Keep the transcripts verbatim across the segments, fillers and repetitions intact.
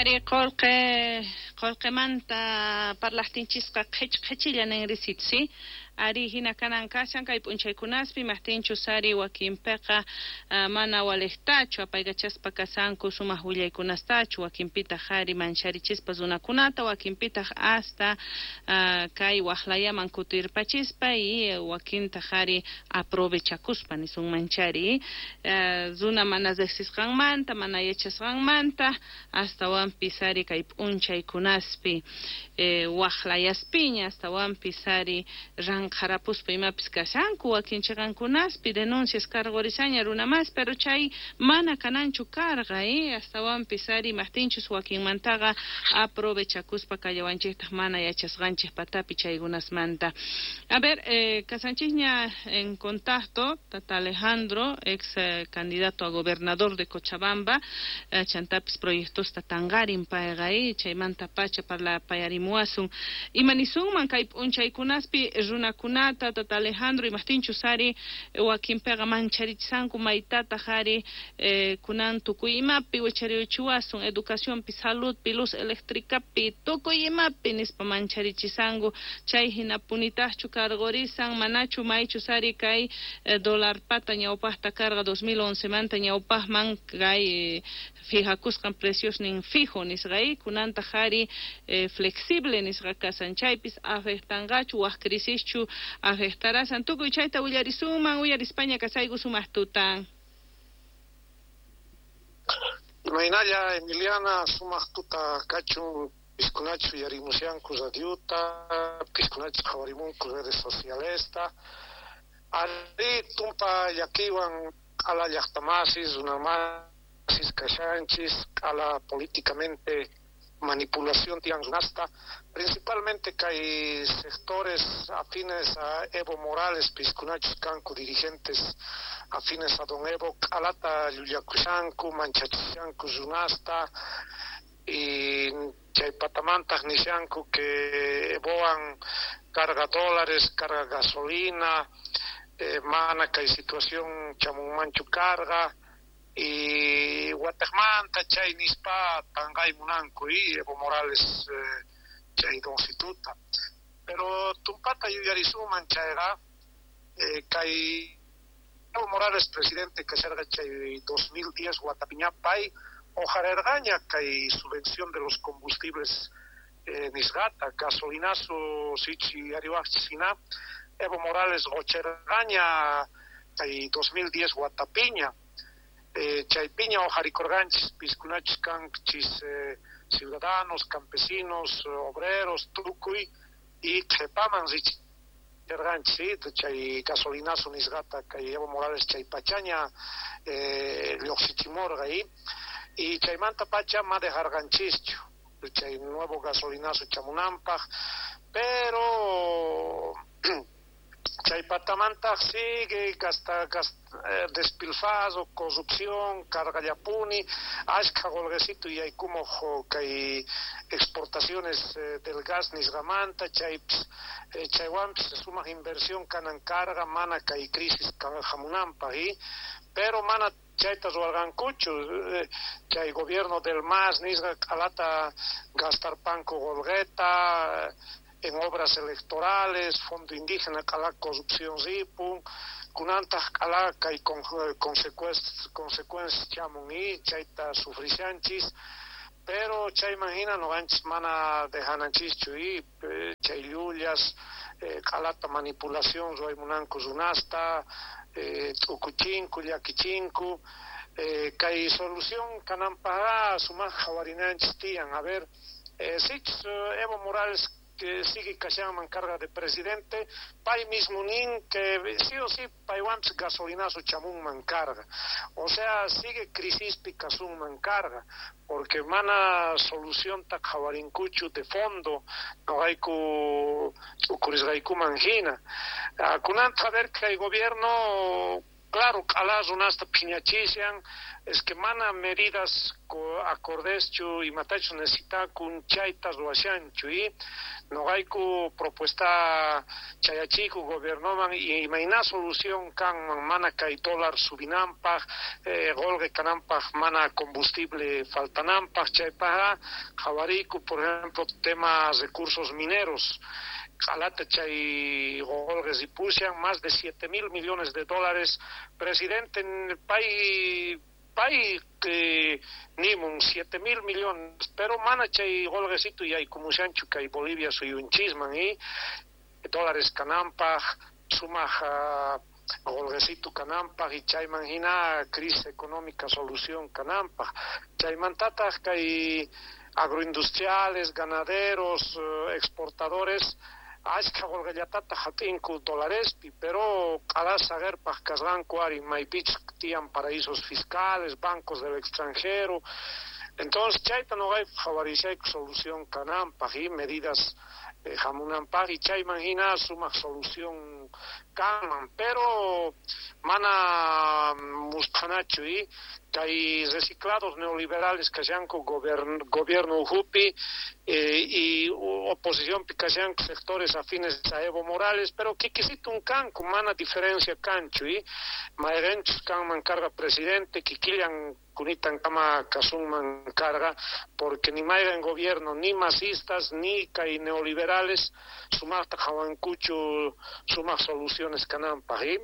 Ari qolqe qolqemanta parlajtinchisqa qhech qhechilla ninrisitsi. Ari hina kanan kashan kay p'unchaykunaspi maqtinchus ari wakinpiqa uh, mana walejtachu apaykachaspa kasanku sumaq willaykunastachu, wakinpitaq ari mancharichispa runakunata, wakinpitaq hasta uh, kay waqlayaman kutirpachispa y wakintaq ari aprovechakuspa nisunmanchari uh, runa mana riqsisqanmanta, mana yachasqanmanta, astawanpis ari kay p'unchaykunaspi eh, waqlayaspiña, astawanpis ari ranqharapuspa imapis kashanku wakin chiqankunaspi denuncias karqurisaña runa mas, pero chay mana kananchu karqa eh, astawanpis ari maqtinchus wakinmantaqa aprovechakuspa kallawanchiktaq mana yachasqanchik patapi chaykunasmanta. A ver, eh, kasanchikña en contacto tata Alejandro, ex eh, candidato a gobernador de Cochabamba, eh, chantapis proyectosta tanqarin payqa eh, chaymanta pacha parlapayarimuwasun. Imanisunman kay p'unchaykunaspi runakunata tata Alejandro, imaqtinchus ari wakinpiqa mancharichishanku maytataq ari eh, kunan tukuy imapi wicharichiwasun, educacionpi, saludpi, luz eléctricapi, tukuy imapi nispa mancharichishanku, chay hinapunitaqchu karqurisan, manachu maychus ari kay eh, dólar pata ñawpaqta karqa dos mil once manta ñawpaqman kay eh, fijakusqan preciosnin fijo nisqa kunantaq ari eh, flexible nisqa kasan, chaypis afectanqachu waq crisischu afectarasan, tukuy chayta willarisunman, uyarispaña kasayku sumaq tutan. Imaynalla Emiliana, sumaq tuta kachun, piskunachu yarimusyanku radiuta, piskunachu qhawarimunku redes socialesta. Ari tumpa llakiwan q'ala llaqtamasis, runamasis kashanchis, q'ala políticamente manipulación tiyan runasta, principalmente kay sectores afines a Evo Morales, piskunachus kanku dirigentes afines a don Evo, q'alata llullakushanku, manchachishanku runasta, y chay patamantaq nishanku que Evoan carga dólares, carga gasolina, eh, mana kay situación chamunmanchu carga, y wataqmanta chay nispa tanqay munanku y Evo Morales eh, chay doncituta. Pero tumpata yuyarisuman chayqa eh, kay Evo Morales presidente kasharqa chay dos mil diez watapiñapay ojarerqaña kay subvención de los combustibles eh, nisqata, gasolinazo sichi yariwaqchis hina Evo Morales qocherqaña kay dos mil diez watapiña. Eh, chaypiña ojarikurqanchis piskunachus kanchis eh, ciudadanos, campesinos, obreros, tukuy, y qhepaman richerqanchis, ¿sí? Chay gasolinazo nisqata kay Evo Morales chay pachaña eh, lluqsichimurqa y, y chaymanta pacha ma dejarqanchischu chay nuevo gasolinazo chamunanpaq, pero chay patamantaq sigue gasta, gasta, eh, despilfarro, corrupción, cargallapuni, ashka qolqecito yaykumoq kay exportaciones eh, del gas nisqamanta, chaypis eh, chaywanpis sumaq inversión kanan carga mana kay crisis hamunanpaq, y pero mana chayta ruwarqankuchu, eh, chay gobierno del M A S nisqa q'alata gastarpanku qolqeta eh, en obras electorales, fondo indígena, q'ala corrupción ripun, kunantaq q'ala kay con, consecuencias, consecuencias chamun y chayta sufrishanchis, pero chayman hina noqanchis mana dejananchischu y eh, chay llullas, eh, q'alata manipulación ruwaymunanku runasta, eh, t'ukuchinku, llakichinku, eh, kay solución kananpaqqa sumaq qhawarinanchis tiyan. A ver, eh, sichus Evo Morales que sigue kashanman carga de presidente, pay mismo nin que sí o sí paywanpis gasolinazo chamunman carga, o sea sigue crisispi kasunman carga, porque mana solución ta qhawarinkuchu de fondo noqayku t'ukurisqaykuman hina. Kunanta a ver kay gobierno, claro, q'ala runasta phiñachishan, es que mana medidas Acordeschu imatachus necesitakun chayta ruwashanchu y noqayku propuesta chayachiku gobiernoman imayna solución kanman mana kay dólar subinanpaj, eh, qolqe kananpaj, mana combustible faltananpaj. Chaypajqa qhawariyku, por ejemplo, tema recursos mineros. Q'alata chay qolqe ripushan, más de siete mil millones de dólares. Presidente, pay pay que nimun siete mil millones, pero mana chay qolqesitu yaykumushanchu kay Bolivia suyunchisman y dólares kananpaj, sumaj qolqesitu kananpaj y chayman hina crisis económica solución kananpaj. Chaymantataj kay agroindustriales, ganaderos, exportadores, ashkha qolqellatata hap'inku dolarespi, pero q'ala saqerpaj kasqanku ari maypichus tiyan paraísos fiscales, bancos del extranjero. Entonces chayta noqayku qhawarishayku solución kananpaj y medidas eh, hamunanpaj y chayman hina sumaq solución kanman, pero mana musphanachu y kay reciclados neoliberales kashanku gobierno ukhupi eh, y oposicionpi kashanku sectores afines a Evo Morales, pero kikisitun kanku, mana diferencia kanchu y mayqenchus kanman karqa presidente, kikillan kunitan kama kasunman karqa, porque ni mayqen gobierno, ni masistas, ni kay neoliberales sumaqta qhawankuchu sumaq soluciones kananpaj y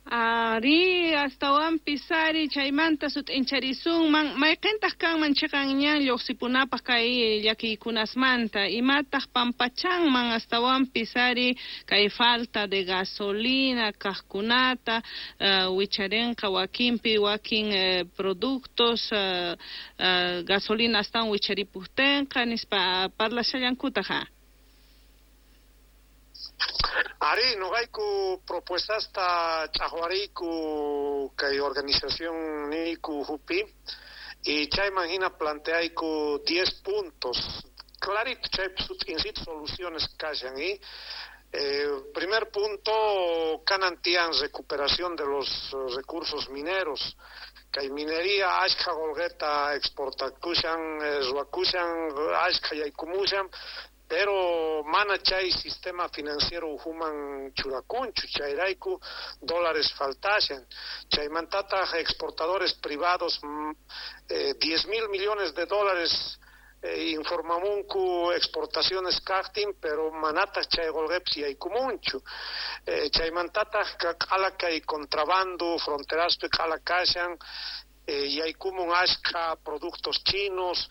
Ari, astawanpis ari chaymanta sut'incharisunman mayqintaq kanman chiqan ñan lluqsipunapaq kay llakiykunasmanta, imataq pampachanman astawanpis ari kay falta de gasolina kaqkunata, uh, wicharinqa wakinpi wakin uh, productos, uh, uh, gasolina astawan wicharipujtinqa nispa parlashallankutaq. Ari, noqayku propuestasta ch'aqwariyku kay organización niyku ukhupi y chayman hina planteayku diez puntos. Clarito chaypi sut'insita soluciones kashan y eh, primer punto, kanan tiyan recuperación de los recursos mineros. Kay minería ashkha qolqeta exportakushan, ruwakushan, ashkha yaykumushan, pero mana chay sistema financiero ukhuman churakunchu, chayrayku dólares faltashan. Chaymantataq exportadores privados, eh, diez mil millones de dólares eh, informamunku exportaciones kaqtin, pero manataq chay qolqepis yaykumunchu. Eh, chaymantataq q'ala kay contrabando fronteraspi q'ala kashan, eh, yaykumun ashkha productos chinos,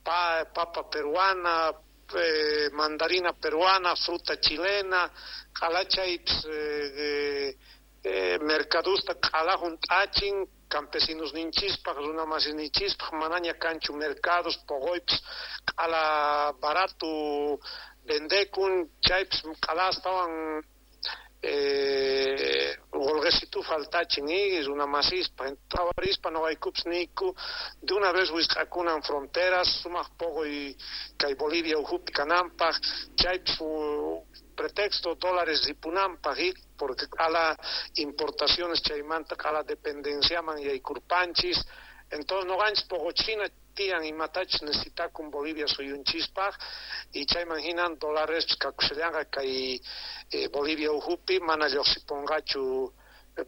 pa, papa peruana, Eh, mandarina peruana, fruta chilena, q'alachaypis eh, eh, mercadusta q'ala hunt'achin, campesinos ninchispaj, runa masinchispaj, manaña kanchu mercados, poqoypis q'ala barato vendekun, chaypis q'ala astawan eh, qolqesitu faltachin y runa masispaj. Qhawarispa noqaykupis niyku de una vez wisq'akunan fronteras, sumaq poqoy kay Bolivia ukhupi kananpaj, chaypis pretexto dólares ripunanpaj y porque q'ala importaciones chaymanta q'ala dependenciaman yaykurpanchis. Entonces noqanchis poqochina tiyan imatachus necesitakun Bolivia suyunchispaj y chayman hinan dólares kakushallanqa kay eh, Bolivia ukhupi mana lluqsipunqachu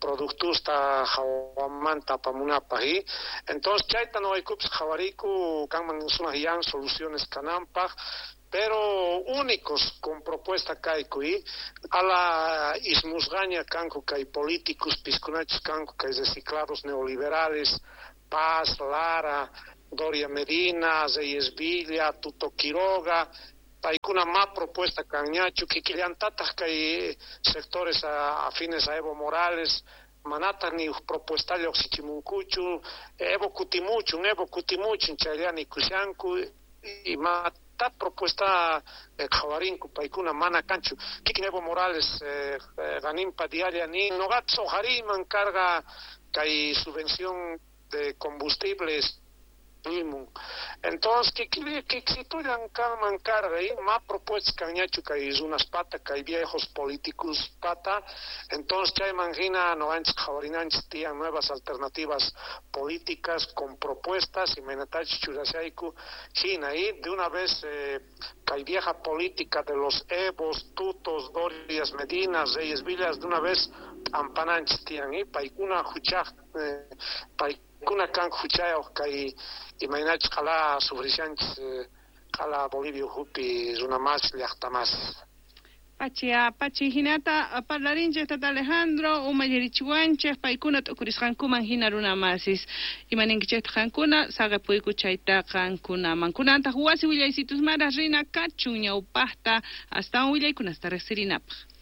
productusta hawamanta apamunapaj y entonces chayta noqaykupis qhawariyku kanman sumaq yan soluciones kananpaj, pero únicos con propuesta kayku y ala ismusqaña kanku kay políticos piskunachus kanku kay reciclados neoliberales, Paz, Lara, Doria Medina, Reyes Villa, Tuto Quiroga, paykuna ma propuesta kanñachu, kikillantataq kay sectores afines a Evo Morales, manataq ni propuesta lluqsichimunkuchu, Evo kutimuchun, Evo kutimuchun, chaylla nikushanku, imata propuesta qhawarinku paykuna mana kanchu. Kikin Evo Morales eh, ganinpa diaria ni noqapis uqhariyman karqa kay subvención de combustibles nimun. Entonces, kiksitullan kanman karqa, ma propuestas kanñachu kay runas pata, kay viejos políticos pata. Entonces, chayman hina noqanchis qhawarinanchis tiyan nuevas alternativas políticas con propuestas imaynatachus churashayku hina, y de una vez eh, kay vieja política de los Evos, Tutos, Dorias, Medinas, Reyes Villas, de una vez p'ampananchis tiyan, y paykuna huchaj, eh, paykuna kan huchayuq kay imaynachus qhala sufrishanchis eh, qhala Bolivia ukhupi runa mas llaqta mas. Pachi, pachi hinata parlarinchej tata Alejandro umallirichiwanchej paykuna t'ukurisqankuman hina runa masis imaninkichejtaq qankuna saqepuyku chayta qankunaman kunantaq wasi willaysitusmara rina kachun ñawpaqta astawan willaykunasta riqsirinapaq.